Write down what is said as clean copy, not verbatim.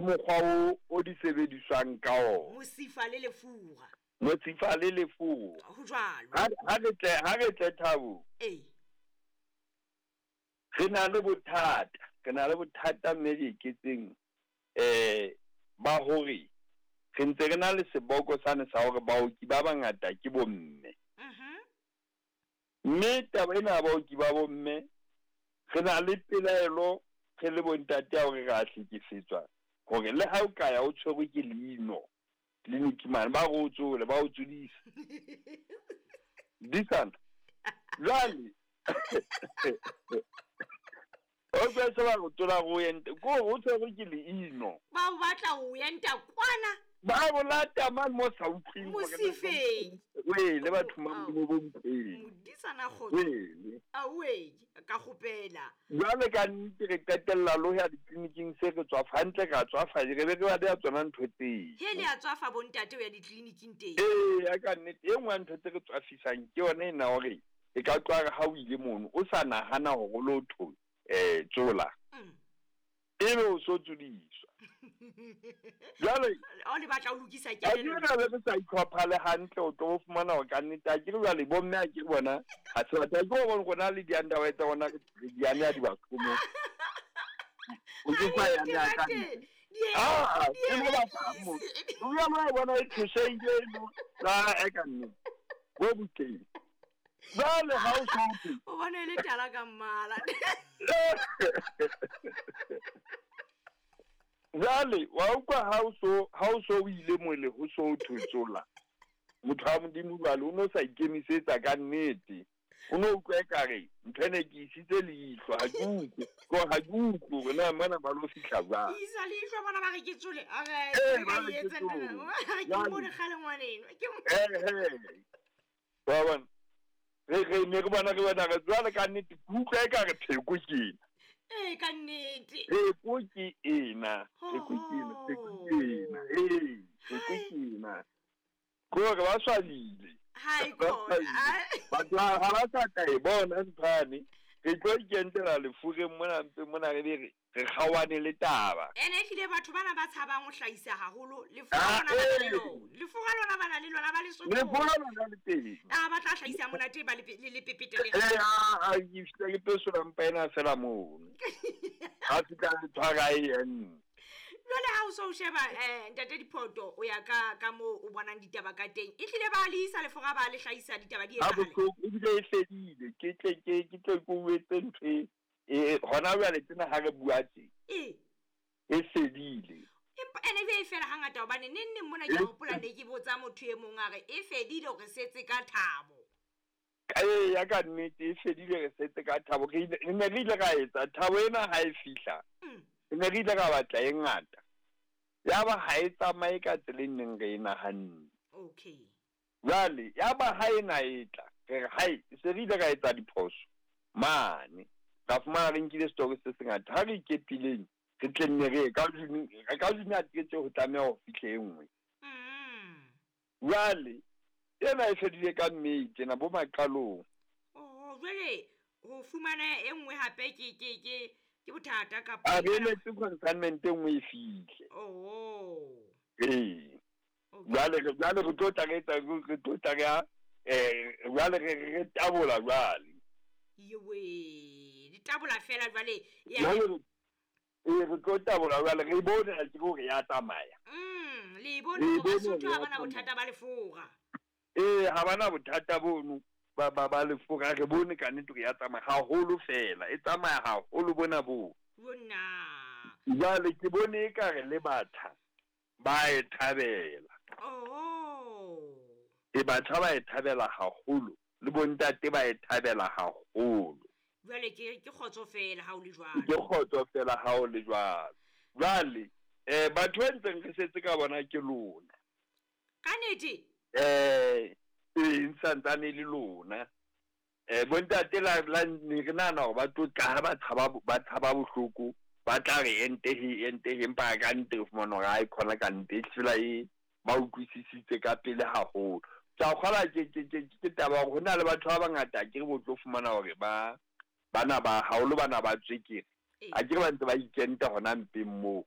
mokgwa o o di sebediswang ka ona. Mosifa le lefura. Mosifa le lefura. Ho jwalo. Ha re tle, ha re tle Thabo. Ee. Re na le bothata, re na le bothata mme re iketseng eh ba hore re ntse re na le seboko sane sa hore baoki ba bangata ke bomme. Mme taba ena ya baoki ba bomme, re na le pelaelo re le bontate ya hore re a hlekefetswa hore le ha o ka ya o tshwerwe ke leino tleliniki mane, ba re o tsole, ba o tsodisa. Disana. Jwale o tla se ba go tsola go ente, ko o tshwerwe ke leino. Ba o batla o enta kwana. Ba o lata mane mo sa utlweng hore na Mosifeng. Wele batho ba Modimo bo mpeng. Modisana kgotso. Wele. Awe, ka kgopela. Jwale ka nnete re qetella lo ya ditleliniking se re tswafa hantle, ra tswafa, re be re ba beha tsona ntho tseo. He le a tswafa bontate ho ya ditleliniking teng. Ee, ya ka nnete e nngwe ya ntho tse re tswafisang ke yona ena hore e ka tloha re ha o ile mono o sa nahana hore o lo tho tsola. Ebe o so tsodiswa. Jwale O le batla o lokisa ha ke kelello. re re sa itlhopha le hantle, o tlo fumana hore ka nnete ha ke re jwale bomme ha ke re bona ha se batho, ha ke re rona le di-underwear tsa rona re di aneha dibathomong. O ke sa ya nea ka ntle. Ah, ke mo batla mo. O ya mo bona e thusehile eno. La e ka nnete. Bo butleng. Jwale ha o so thwe. O bona e le tala ka mmala. Jwale wa utlwa ha o so, ha o so o ile mole ho so thwe tsola. Motho wa Modimo jwale o no sa ikemisetsa ka nnete. O no utlwa ekare ntho ena ke isitse leihlo, ha ke utlwe. Ko ha ke utlwe hore na mona ba lo fihla jwang. Isa leihlo bona ba re ke tsole. A re, Ee, ke ba ka re ke etsa ntho ena. tsole. Ba re ke Jwale. mmone kgale ngwaneno. Ke mo- Ee, ee. Wa bona? Re, re ne re bona, re bona, re jwale ka nnete, ke utlwa ekare pheko ke ena. Ee, ka nnete. Pheko ke ena, pheko ke ena, pheko ke ena. Ee, pheko ke ena. Ke hore ba swabile. Hai, Ba khona. swabile. Batho ha ba sa tla e bona nthwane. Re tlo ikentela lefureng mona mpe mona re be re kgaohane le taba. Ene ehlile batho bana ba tshabang ho hlahisa haholo, lefura Ah, lona ba na le ee. lona. Lefura lona ba na le lona, ba le sotho. Lefura lona le teng. Ah, ba tla hlahisa monate ba le le pepete le. Ee, ah, ah, ke fihla ke pesola mpa ena fela mono. Ha fihla le tshwara e enne. Jwale ha o so sheba, ntate Diphoto, o ya ka moo o bonang ditaba ka teng. Ehlile ba le isa lefura, ba le hlahisa ditaba di Ha etsahale. bohloko, ebile e fedile. Ke tle ke, ke tle ke o etse ntho e, e, hona jwale tsena ha re bua tje. Ee. E fedile. Empa ene e fela hangata hobane neng neng mona ke hopola ne ke botsa motho e mong a re e fedile hore setse ka thabo. Ee, ya ka nnete e fedile re setse ka thabo. Re ile, re ne re ile ra etsa thabo ena ha e fihla. Re ne re ile ra batla e ngata. Ya ba ha e tsamaye ka tsela e neng re e nahanne. Okay. Jwale ya ba ha ena e tla, re re hai, se re ile ra etsa diphoso mane. Ra fumana re nkile story se sengata. Ha re ikepileng, re tle nne re ye ka June, ka June a tletse ho tlameha ho fihle e nngwe. Jwale ena e fedile ka May tjena bo maqalong. Oh, jwale ho fumana e nngwe hape ke bothata kapa A re emetse consignment e nngwe e fihle. Oh. Ee. Okay. Jwale re, jwale re tlo tla re etsa, re tlo tla re ya, jwale re, re tabola jwale. Yewe, di tabola fela jwale, ya Jwale re, ee, re tlo tabola jwale, re bone ha ke hore ya tsamaya. Le bone Le hore bone Basotho hore ha ya bana tsamaya. bothata ba lefura. Ee, ha bana bothata bono ba lefura, re bone ka nnete hore ya tsamaya haholo fela, e tsamaya haholo bona boo. Bona. Jwale ke bone ekare le batjha ba e thabela. Oh. E batjha ba e thabela haholo, le bontate ba e thabela haholo. Jwale ke kgotso fela ha o le jwalo. Ke kgotso fela ha o le jwalo. Jwale, batho ba ntseng re setse ka bona ke lona. Ka nnete? Ee, santsane le lona. Bontate la ne re nahana hore ba tlo tla ha ba tshaba bohloko, ba tla re ente he, ente he, empa ka nnete re fumana hore ha e khona ka nnete, e fela e ba utlwisisitse ka pele haholo. Tsa kgola ke taba hore ho na le batho ba bangata ke re bo tlo fumana hore ba bana ba haholo bana ba tswekere. Ee. A ke re ba ntse ba ikenta hona mpeng moo.